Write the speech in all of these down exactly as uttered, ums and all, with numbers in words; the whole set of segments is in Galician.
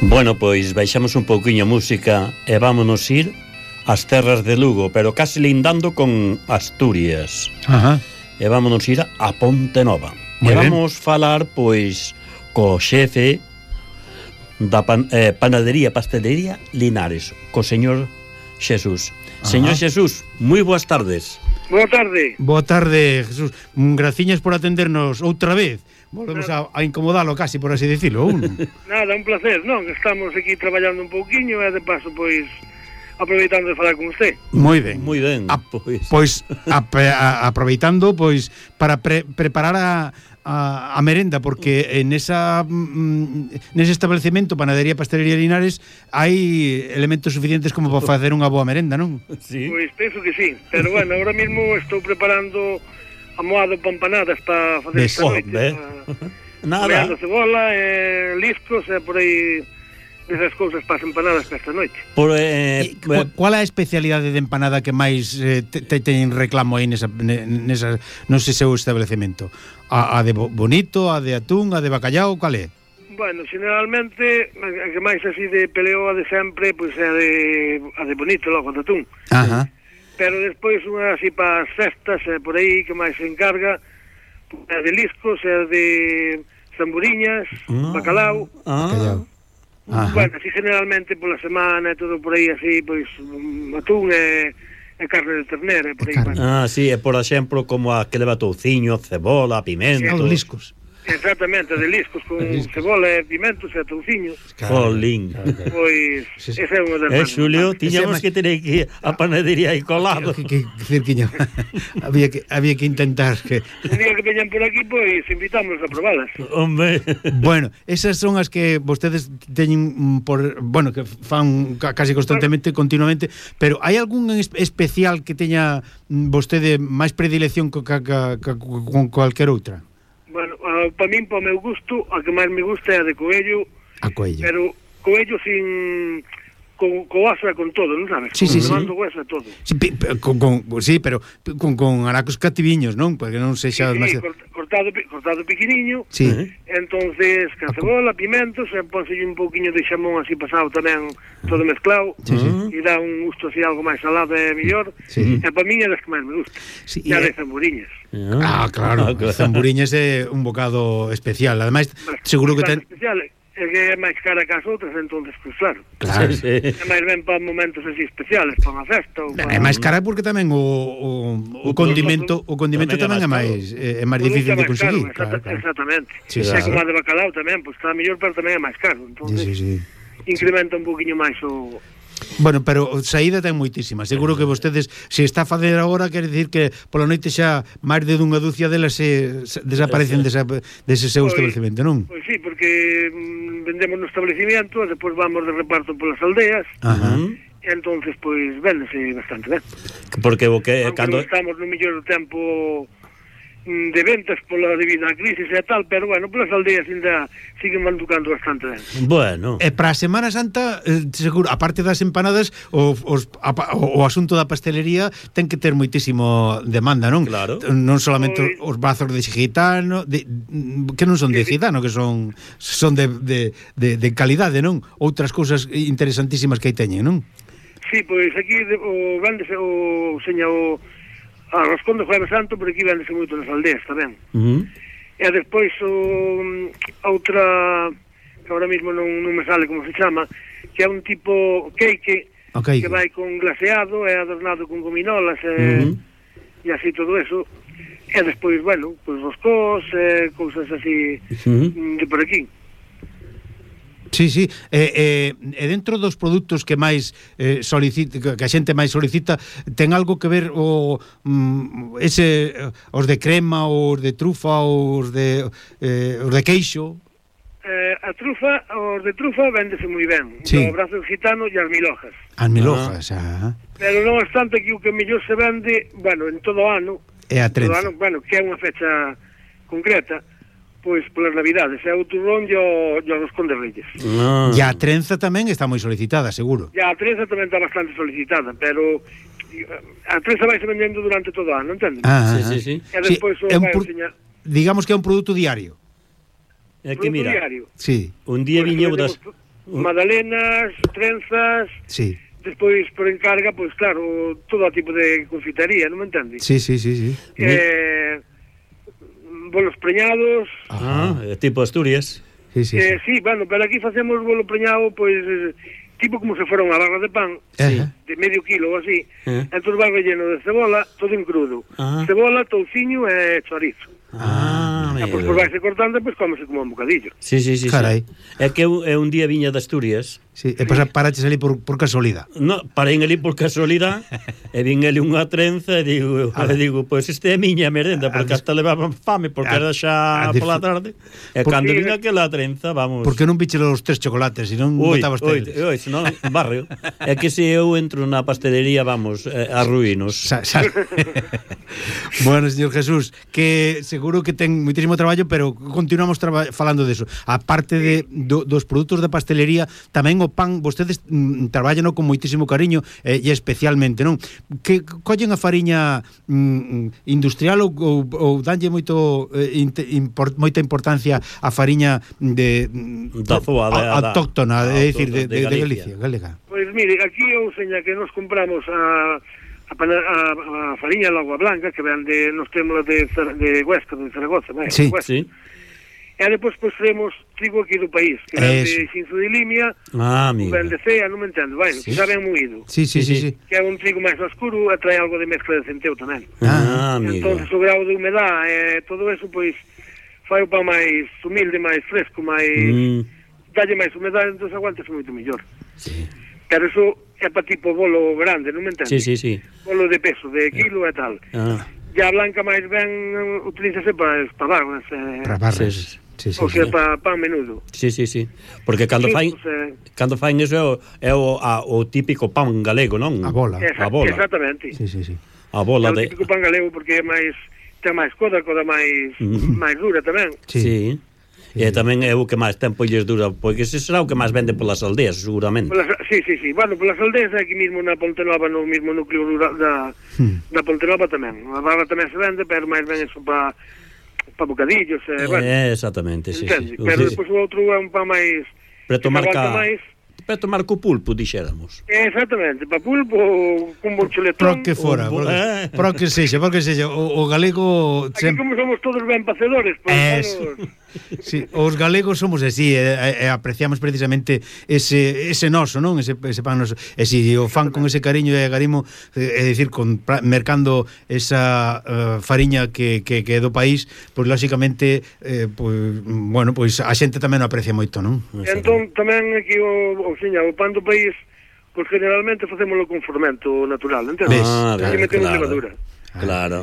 Bueno, pois baixamos un pouquiño a música e vámonos ir ás terras de Lugo, pero casi lindando con Asturias. Ajá. E vámonos ir a Ponte Nova. Muy e ben. vamos falar, pois, co xefe da pan, eh, panadería, pastelería Linares, co señor Xesús. Ajá. Señor Xesús, moi boas tardes. Boa tarde. Boa tarde, Jesús. Graciñas por atendernos outra vez. Volvemos a, a incomodalo casi, por así decirlo. Un. Nada, un placer, non? Estamos aquí traballando un pouquiño e de paso, pois, aproveitando de falar con usted. Moi ben. Moi ben, A, pois. Pois, a, a, aproveitando, pois, para pre, preparar a, a, a merenda, porque en esa mm, nese establecemento, Panadería Pastelería Linares, hai elementos suficientes como para facer unha boa merenda, non? Sí. Pois penso que sí, pero bueno, ahora mismo estou preparando amoado pa empanadas para facer Ves, esta oh, noite. ve. Pa... Nada. Meando cebola, eh, liscos e por aí desas cousas para as empanadas para esta noite. Por, eh, E, cu- Qual é a especialidade de empanada que máis eh, te, te ten reclamo aí nesa, nesa, no sei seu establecemento? A, a de bo- bonito, a de atún, a de bacallao, cal é? Bueno, generalmente, a que máis así de peleo a de sempre, pois é a de, a de bonito, logo, de atún. Ajá. Pero despois unha así para as festas, e por aí que máis se encarga, é de liscos, é de zamburiñas, Ah. bacalao. Ah. Bacalao. Ajá. Bueno, así generalmente pola semana e todo por aí así, pois um, atún e, e carne de ternera e por aí. E carne. Bueno. Ah, sí, e por exemplo, como a que leva touciño, cebola, pimento. Os liscos. Exactamente, de liscos con cebola e pimentos e touciño. Jolín. Pois Sí, sí. ese é unha das Eh, máis Xulio, importantes. tiñamos Ese que ter que a panadería aí colado. Que, que, Cirquiño, había que había que intentar que Un día que veñan por aquí, pois invitamos a probalas. Hombre. bueno, esas son as que vostedes teñen mm, por, bueno, que fan ca- casi constantemente, continuamente, pero hai algún en es- especial que teña mm, vostede máis predilección co, ca, ca, ca, con cualquier outra? Bueno, uh, para min, para o meu gusto, a que máis me gusta é a de coello, A coello. pero coello sin... con, co aso e con todo, non sabes? Sí, sí, sí. Con levando hueso e todo. Sí, pi- pi- con, con, sí, pero con, con aracos cativiños, non? Porque non sexa Sí, sí, demasiado... cort- cortado, pi- cortado pequeniño, Sí. entonces, con cebola, pimentos, e pónselle un pouquiño de xamón así pasado tamén, todo mezclado, Sí, sí. e dá un gusto así algo máis salado e mellor, Sí. e para min é das que máis me gusta. Sí, E a e- de zamburiñas. Ah, claro, zamburiñas é un bocado especial. Ademais, seguro que ten... Especial, é que é máis cara que as outras, entonces, pues claro. Claro. Sí, sí. É máis ben para momentos así especiales, para unha festa ou para... É máis cara porque tamén o, o, o condimento o condimento tamén é máis é máis difícil de conseguir. Caro, Claro, claro. Exactamente. Sí, É claro. como a de bacalao tamén, pois está mellor, pero tamén é máis caro. Sí, Entonces, sí, sí. incrementa un poquinho máis o... Bueno, pero saída ten moitísima. Seguro que vostedes, se está a facer agora, quer dicir que pola noite xa máis de dunha dúcia delas se, se desaparecen desa, dese seu Pois- establecemento, non? Pois sí, porque mm, vendemos no establecimiento, e depois vamos de reparto polas aldeas, Ajá. e entonces, pois, véndese bastante ben. Porque o que Aunque cando non estamos no mellor tempo mm, de ventas pola debido á crisis e tal, pero bueno, polas aldeas ainda siguen manducando bastante ben. bueno, E para a Semana Santa, eh, seguro, aparte das empanadas, o, os, a, o, o asunto da pastelería ten que ter moitísimo demanda, non? Claro. Non solamente Pois- os bazos de gitano, de, que non son de Sí, sí. gitano, que son son de, de, de, de calidade, non? Outras cousas interesantísimas que aí teñen, non? Sí, pois aquí de, o vendese o seña o a roscón de Jueves Santo, por aquí vendese moito nas aldeas tamén. uh, E despois o a outra que ahora mismo non, non me sale como se chama, que é un tipo cake Okay. que vai con glaseado e adornado con gominolas e, uh, e así todo eso. E despois, bueno, pois roscós e cousas así uh, mm, de por aquí. Sí, sí, e, e, e dentro dos produtos que máis eh, solicita, que a xente máis solicita, ten algo que ver o mm, ese os de crema, os de trufa, os de eh, os de queixo. Eh, a trufa, os de trufa véndese moi ben. Sí. O brazo gitano e as milojas. As milojas, ah. Pero non obstante que o que mellor se vende, bueno, en todo o ano, E a todo o trenza. ano, bueno, que é unha fecha concreta, pois polas navidades, é o turrón e o, e o roscón de Reyes. no. E a trenza tamén está moi solicitada, seguro. E a trenza tamén está bastante solicitada, pero a trenza vai se vendendo durante todo o ano, entende? Ah, Sí, sí, sí. E despois sí, o é un vai pro- enseñar digamos que é un produto diario. É que produto mira, diario. Sí. un día Pois viñeu vendemos das tu- magdalenas, trenzas, Sí. despois por encarga, pois claro, todo tipo de confitería, non me entendes? Sí, sí, sí, sí. Eh, bolos preñados, Ah, eh, tipo Asturias. Sí, sí, eh, sí. sí, bueno, pero aquí facemos bolo preñado, pois, eh, tipo como se fora unha barra de pan, Sí. de medio kilo ou así, Eh. entón vai relleno de cebola, todo en crudo. Ah. Cebola, touciño e chorizo. Ah, E pois por vaise cortando, pois comese como un bocadillo. Sí, sí, sí. Carai. Sí. É que eu, eu un día viña de Asturias. Sí, e pasa paraches ali por, por casualidad. No, parei ali por casualidade e vin ali unha trenza e digo, e digo, pois pues este é miña merenda, porque hasta levaban fame porque a- era xa a pola tarde. E Por- cando Sí, vin eh. aquela trenza, vamos. Por que non piche os tres chocolates, se non Ui, botabas ui, teles? ui, senón barrio. É que se eu entro na pastelería, vamos, eh, arruínos. Sa, sa... Bueno, señor Jesús, que seguro que ten moitísimo traballo, pero continuamos traba falando deso. Aparte de do, dos produtos da pastelería, tamén o pan, vostedes mm, traballan con moitísimo cariño eh, e especialmente, non? Que collen a fariña mm, industrial ou, ou, ou danlle moito eh, inte, import, moita importancia a fariña de Da zoa, da- a- autóctona, da- é dicir, de, de de, de Galicia. Galicia, galega. Pois mire, aquí eu seña que nos compramos a a, pana, a, a fariña de agua blanca que ven de nos temos de, de Huesca, de Zaragoza, vai, Sí. Huesca. Sí. E depois pois traemos trigo aquí do país, que ven Eso. de Xinzo de Limia, Ah, amigo. ven de Cea, non me entendo, vai, Sí. que xa ben moído. Sí, sí, sí, Sí, sí. Que é un trigo máis oscuro e trae algo de mezcla de centeo tamén. Ah, amigo. Entonces o grau de humedad e todo eso, pois, fai o pan máis humilde, máis fresco, máis... Mm, dalle máis humedade, entón aguantase moito mellor. sí. Pero eso é para tipo bolo grande, non me entendes? Sí, sí, sí. Bolo de peso, de kilo e tal. Ah, E a blanca máis ben eh, utilízase para espadarras, eh, Para barras. Sí, Sí, sí, ou sí. sea, para pan menudo. sí, sí, sí. Porque cando Sí, fain pues, eh, cando fain eso é o, é o, a, o típico pan galego, non? A bola. exa- A bola. Exactamente. Sí, sí, sí. A É bola o de típico pan galego porque é máis ten máis coda, coda máis Mm. máis dura tamén. Sí. Sí. E tamén é o que máis tempo lles dura, porque ese será o que máis vende polas aldeas, seguramente. Polas, sí, sí, sí. Bueno, polas aldeas aquí mesmo na Ponte Nova, no mesmo núcleo rural da, Hmm. da Ponte Nova tamén. A barra tamén se vende, pero máis ben eso para pa bocadillos, eh, bueno, Eh, exactamente, sí, entende? sí. Pero Sí. despois o outro é un pan máis Para que tomar se aguanta ca... máis. Para tomar co pulpo, dixéramos. Exactamente, pa pulpo, cun bon Pro chuletón. que fora, Un bo- pro que, eh. pro que sexa, pro que sexa, o, o galego Aquí sem- como somos todos ben facedores, pois Eso. vamos... Sí, os galegos somos así e, e apreciamos precisamente ese ese noso, non? Ese, ese pan noso. E si o fan con ese cariño e agarimo, é dicir, con, pra- mercando esa uh, fariña que, que, que é do país, pois lóxicamente eh, pois, bueno, pois a xente tamén o aprecia moito, non? Entón, tamén aquí o, o, seña, o pan do país, pois generalmente facémolo con fermento natural, entendes? Ah, Aquí ben, metemos claro. levadura. Claro.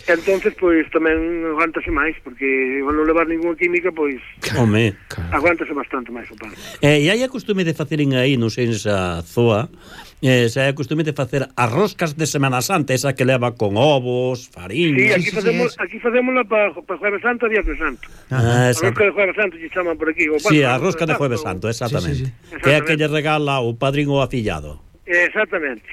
Entonces, pois, tamén aguántase máis, porque ao non levar ninguna química, pois, Home. aguántase bastante máis o pan. Eh, e hai a costume de faceren aí, non sei, esa zoa, eh, se hai a costume de facer as roscas de Semana Santa, esa que leva con ovos, Sí, fariña... aquí sí, sí, facemos, es. aquí facémola para pa Jueves Santo e Viernes Santo. Ah, A esa... rosca de Jueves Santo se chaman por aquí. O Sí, pan- a rosca de Jueves o- Santo, exactamente. Sí, sí, sí. Que é a que Exactamente. lle regala o padrín ou afillado. Exactamente.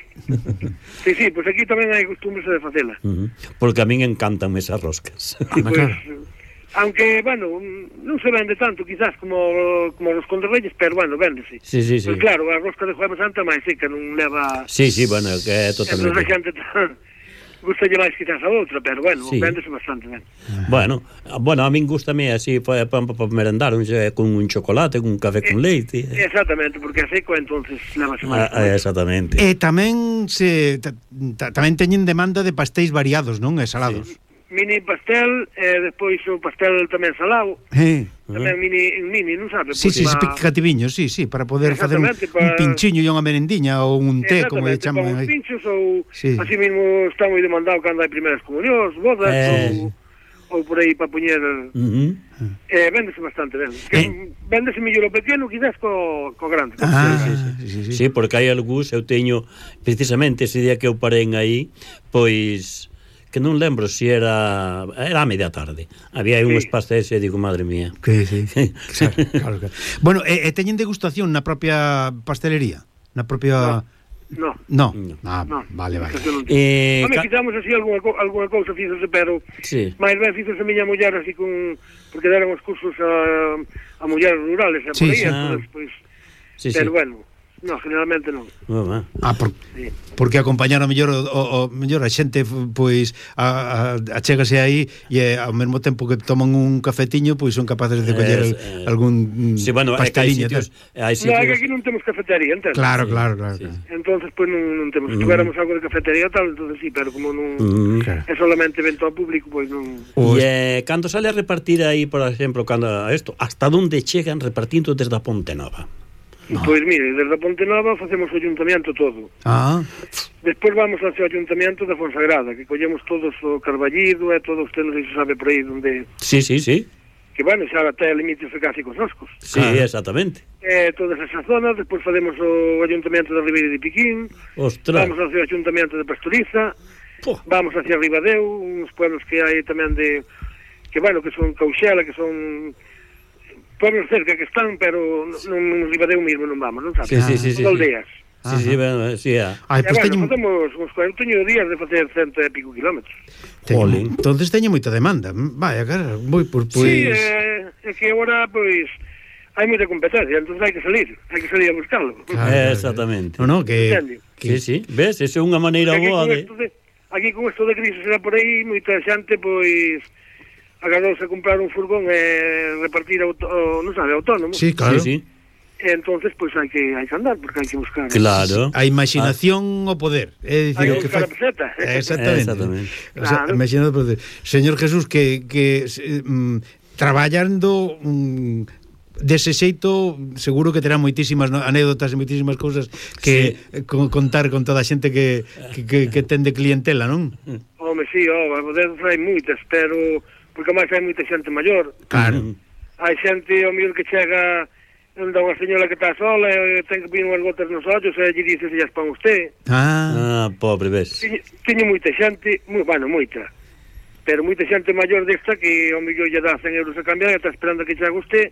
Sí, sí, pois aquí tamén hai costumbres de facela. Uh -huh. Porque a min encantan esas roscas. Pois, aunque, bueno, non se vende tanto, quizás, como, como os conderreyes, pero, bueno, véndese. Sí, sí, sí. Pois claro, a rosca de Jueves Santo é máis seca, non leva... Sí, sí, bueno, que é Entón, a totalmente... xente tan... gustalle máis quizás a outra, pero, bueno, Sí. véndese bastante ben. Bueno, bueno, a min gustame así para pa, pa merendar, un, con un chocolate, con un café con leite. Exactamente, porque a seco, entonces, levase Ah, máis. ah, exactamente. E tamén se ta, ta, tamén teñen demanda de pastéis variados, non? E salados. Sí. Mini pastel, e despois o pastel tamén salado, Eh. tamén mini, mini, non sabe? Sí, Pois sí, pa- picativiños, sí, sí, para poder facer un, Exactamente, un pa- pinchiño e unha merendiña ou un té, como lle Exactamente, chaman para os aí. pinchos ou Sí. así mesmo está moi demandado cando hai primeras comunións, bodas Eh. ou, ou por aí para poñer Uh -huh. eh, véndese bastante ben. Eh. Que véndese mellor o pequeno quizás co, co grande. Ah, Sí, sí, sí, sí. Sí, porque hai algúns, eu teño precisamente ese día que eu parei aí, pois que non lembro se era era a media tarde. Había aí Sí. uns pastéis e digo, madre mía. Que sí. Claro, claro, claro. Bueno, e, e teñen degustación na propia pastelería? Na propia... No. No. No. Ah, No, vale, vale. eso non. Eh, Home, ca- quitamos así alguna, co- alguna cousa fíxose, pero Sí. máis ben fíxose a miña muller así con... porque deran os cursos a, a mulleres rurales, e Sí, por aí, sí. entonces, pois, Sí, pero sí. bueno, no, generalmente non. Oh, Ah, por, Sí. porque acompañar a mellor o, o, o mellor a xente pois a, a, achégase aí e ao mesmo tempo que toman un cafetiño pois son capaces de coller Es, eh, eh, algún sí, bueno, é que hai pasteliño. sitios, hai No, é que sitios. aquí non temos cafetería, entende? Claro, Sí, claro, claro. sí. claro. Entonces, pues non, non temos. Se Mm. tuviéramos algo de cafetería tal, entonces sí, pero como non Mm. Claro. é solamente evento ao público, pois pues non... Os- E eh, cando sale a repartir aí, por exemplo, cando isto, hasta onde chegan repartindo desde a Ponte Nova? No. Pois mire, desde a Ponte Nova facemos o ayuntamiento todo. Ah, Despois vamos ao ayuntamiento da Fonsagrada, que collemos todos o Carballido e todo usted non sei se sabe por aí onde... Sí, sí, sí. Que bueno, xa até límites casi cos noscos. Sí, Claro. exactamente. E toda esa zona, despois facemos o ayuntamiento da Ribeira de Piquín, Ostras. vamos ao ayuntamiento de Pastoriza, Puh. vamos hacia Ribadeu, uns pueblos que hai tamén de... que bueno, que son Cauxela, que son... pueblos cerca que están, pero non Ribadeu mesmo non vamos, non sabes? Sí, sí, sí, sí, Son sí. aldeas. Sí, sí, ben, sí, ah. ai, E pois bueno, teño, facemos uns cuarenta días de facer cento e pico kilómetros. teño Jolín. entonces teño moita demanda. Vaya, cara, moi por pois Sí, eh, é que agora, pois, hai moita competencia, entón hai que salir, hai que salir a buscarlo. Claro. Eh, exactamente. No, no, que, Entende? que Sí, sí, ves, esa é unha maneira Aquí boa con de... esto de aquí con isto de crisis era por aí, moita xente, pois, agarouse a comprar un furgón e repartir auto, o, non sabe, autónomo. Sí, claro. Sí, sí. E entonces, pois, hai que, hai que andar, porque hai que buscar. Claro. A imaginación o poder, é dicir, Hai o que que buscar fai... a peseta. Exactamente. Exactamente. O sea, Claro. imaginado o poder. Señor Jesús, que, que eh, mm, traballando mm, dese xeito seguro que terá moitísimas no, anécdotas e moitísimas cousas que sí. co, contar con toda a xente que, que, que, que ten de clientela, non? Home, sí, oh, a poder hai moitas, pero porque máis hai moita xente maior. Claro. Hai xente, o mellor que chega onde unha señora que está sola e ten que vir unhas gotas nos ollos e lle dice se llas pon usted. Ah, Ah, pobre, ves. Teño, teño moita xente, moi, bueno, moita, pero moita xente maior desta que o mellor lle dá cen euros a cambiar e está esperando que chegue usted,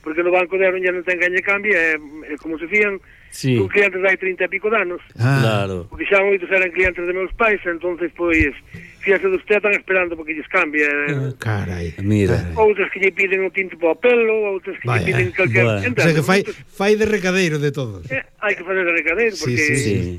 porque no banco deron ya non ten gañe cambio e, e como se fían, Sí. un cliente dai trinta e pico de anos, ah. Claro. porque xa moitos eran clientes de meus pais, entonces pois, fíase de usted, están esperando porque lles cambie. Ah, carai. Mira. Carai. Outras que lle piden o tinto para o pelo, outras que Vaya. lle piden calquer... Bueno. O sea que fai, Entende? fai de recadeiro de todos. Eh, hai que fazer de recadeiro, Sí, porque... sí, sí. Sí.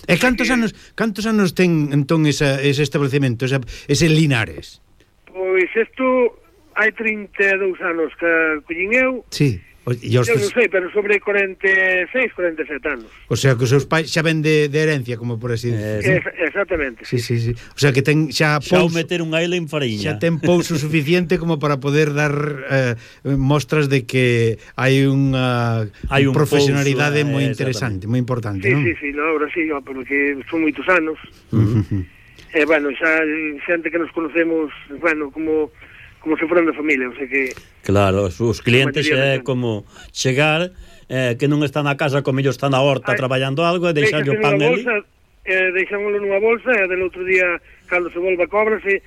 E cantos anos, cantos anos ten entón esa, ese establecemento, esa, ese Linares? Pois isto hai trinta e dous anos que collín eu, Sí. O, e os, eu non sei, pero sobre cuarenta e seis, cuarenta e sete anos. o sea que os seus pais xa ven de, de herencia, como por así Eh, decir. Es, exactamente. Sí, sí, sí. O sea que ten xa Xa o pouso, meter unha ela en fariña. xa ten pouso suficiente como para poder dar eh, mostras de que hai unha Hai un profesionalidade pouso, moi eh, interesante, moi importante, Sí, non? sí, sí, no, ahora sí, oh, porque son moitos anos. Uh-huh. E, bueno, xa xente que nos conocemos, bueno, como como se foran de familia, o sea que... Claro, os, os clientes Materialmente. é como chegar eh, que non está na casa, como ellos están na horta Ai, traballando algo e deixarlle o pan nunha ali. bolsa, eh, deixámoslo nunha bolsa e del outro día, cando se volva a cóbrase,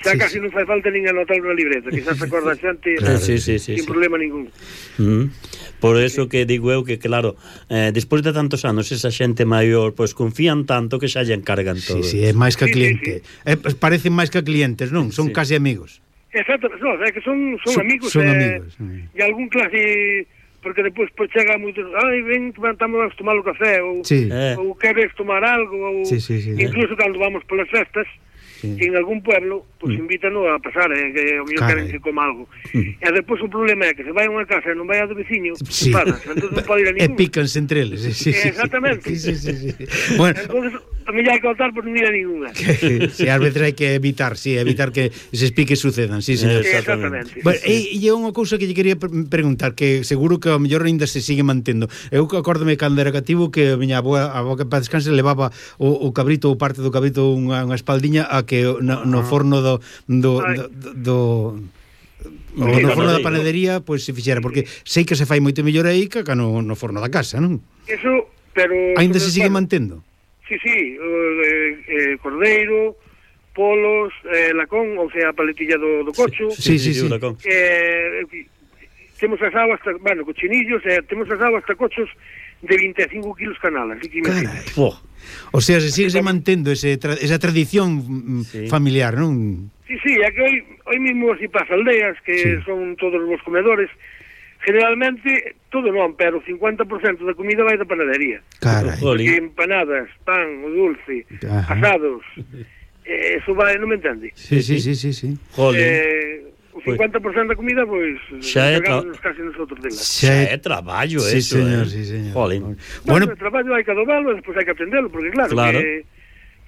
xa Sí, casi sí. non fai falta nin anotar na libreta, que xa se acorda a xente Claro, sí, sí, sí, sin sí. problema ningún. Mm. Por eso que digo eu que, claro, eh, despois de tantos anos esa xente maior, pois confían tanto que xa lle encargan todo. Sí, sí, é máis que Sí, sí, cliente. Eh, parecen máis que clientes, non? Son Sí. casi amigos. Exacto, no, é que son, son, Son- amigos, son eh, amigos, sí. e algún clase, porque depois pues, chega moitos, ai, ven, vamos a tomar o café, ou, Sí. Eh. ou queres tomar algo, ou Sí, sí, sí. incluso cando vamos polas festas, Sí. en algún pueblo, pues Mm. invítanos a pasar, eh, que o mellor Carai. queren que coma algo. E depois o problema é que se vai a unha casa e non vai a do veciño, Sí. sí. Pasa, entón non pode ir a E ningún. pícanse entre eles. Sí, sí, sí. Exactamente. Sí, sí, sí, sí. Bueno, Entón, a mí hai que optar por non ir a ninguna. que, sí, ás veces hai que evitar, sí, evitar que eses piques sucedan, sí, señor. Exactamente. Exactamente. Bueno, e, e unha cousa que lle quería pre- preguntar, que seguro que ao mellor ainda se sigue mantendo. Eu acórdome cando era cativo que a miña avoa, a avoa que para descanse levaba o, o cabrito ou parte do cabrito unha, unha espaldiña a que no, no forno do do, Ai. do, do o Sí, no no, forno no, da no. panadería pois pues, se fixera, porque sei que se fai moito mellor aí que acá no, no forno da casa, non? Eso, pero... Ainda se sigue bueno, mantendo? Sí, sí, eh, eh, cordeiro, polos, eh, lacón, ou sea, a paletilla do, do cocho. Sí, sí, sí. huracán. Eh, temos asado hasta, bueno, cochinillos, eh, temos asado hasta cochos de vinte e cinco kilos canal, así que imagínate. Carai. Fua. O sea, se sigue se mantendo ese tra esa tradición mm, Sí. familiar, non? Sí, sí, é que hoy, hoy mismo así pasa aldeas, que Sí. son todos os comedores, generalmente, todo non, pero o cincuenta por cento da comida vai da panadería. Carai. Porque empanadas, pan, o dulce, Ajá. asados, eh, eso vai, non me entende? Sí, sí, sí, sí, sí. Jolín. Eh, o cincuenta por cento da comida, pois, Xa é tra- encargámonos casi nosotros dela. Xa é traballo, Sí, eso, señor, eh. sí, señor. Jolín. Bueno, Bueno, o traballo hai que adobalo e despois hai que atendelo, porque claro, Claro. que,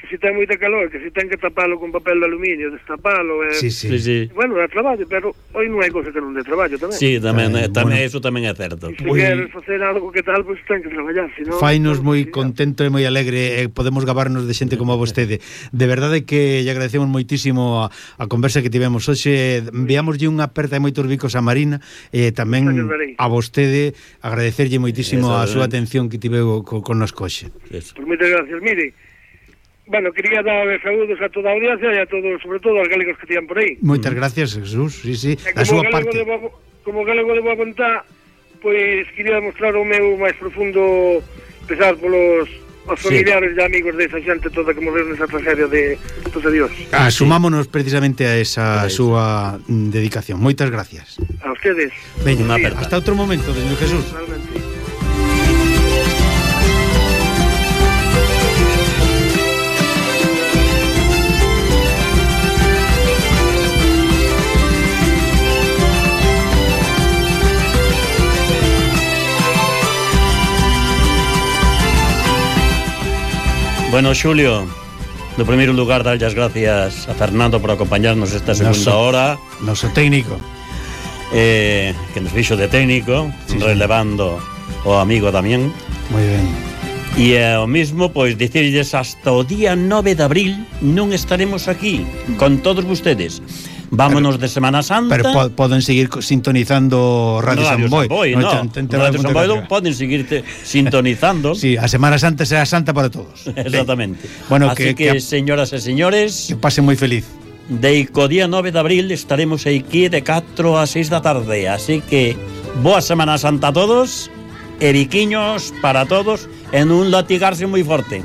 que se ten moita calor, que se ten que tapalo con papel de aluminio, destapalo, eh, sí, Sí, sí. sí. bueno, é traballo, pero hoy non hai cosa que non dé traballo tamén. Sí, tamén, Eh, eh, tamén bueno. eso tamén é certo. E se Moi- queres facer algo que tal, pois ten que traballar, senón... Fainos non, moi sí, contento e moi alegre e podemos gabarnos de xente como a vostede. De verdade que lle agradecemos moitísimo a, a conversa que tivemos hoxe. Enviámoslle unha aperta e moitos bicos a Marina e tamén a vostede agradecerlle moitísimo a súa atención que tiveu co, con nos coxe. Eso. Pois moitas gracias. Mire, bueno, quería dar saúdos a toda a audiencia e a todos, sobre todo aos galegos que tían por aí. Moitas gracias, Jesús. Sí, sí, E a súa como galego parte. de boa, como galego de boa vontad, pois quería mostrar o meu máis profundo pesar polos os familiares e amigos desa xente toda que morreu nesa tragedia de dos adiós. Asumámonos precisamente a esa súa mm, dedicación. Moitas gracias. A ustedes, Veña, Unha aperta. hasta outro momento, señor Jesús. realmente. Bueno, Xulio, no primeiro lugar, darlle as gracias a Fernando por acompañarnos esta segunda Noso- hora, Noso técnico. eh, que nos fixo de técnico, Sí, sí. relevando o amigo tamén. Moi ben. E é o mismo, pois, dicirlles hasta o día nove de abril non estaremos aquí con todos vostedes. Vámonos de Semana Santa. Pero po poden seguir co- sintonizando Radio, Radio San Boi. Samboy, No, no. ten- ten- ten Radio algún Samboy tema. poden seguirte sintonizando. Sí, a Semana Santa será santa para todos. Exactamente. Bueno, Así que- que, que- señoras e señores, Que pase moi feliz. de co día nove de abril estaremos aquí de catro a seis da tarde. Así que boa Semana Santa a todos e biquiños para todos en un latigarse moi forte.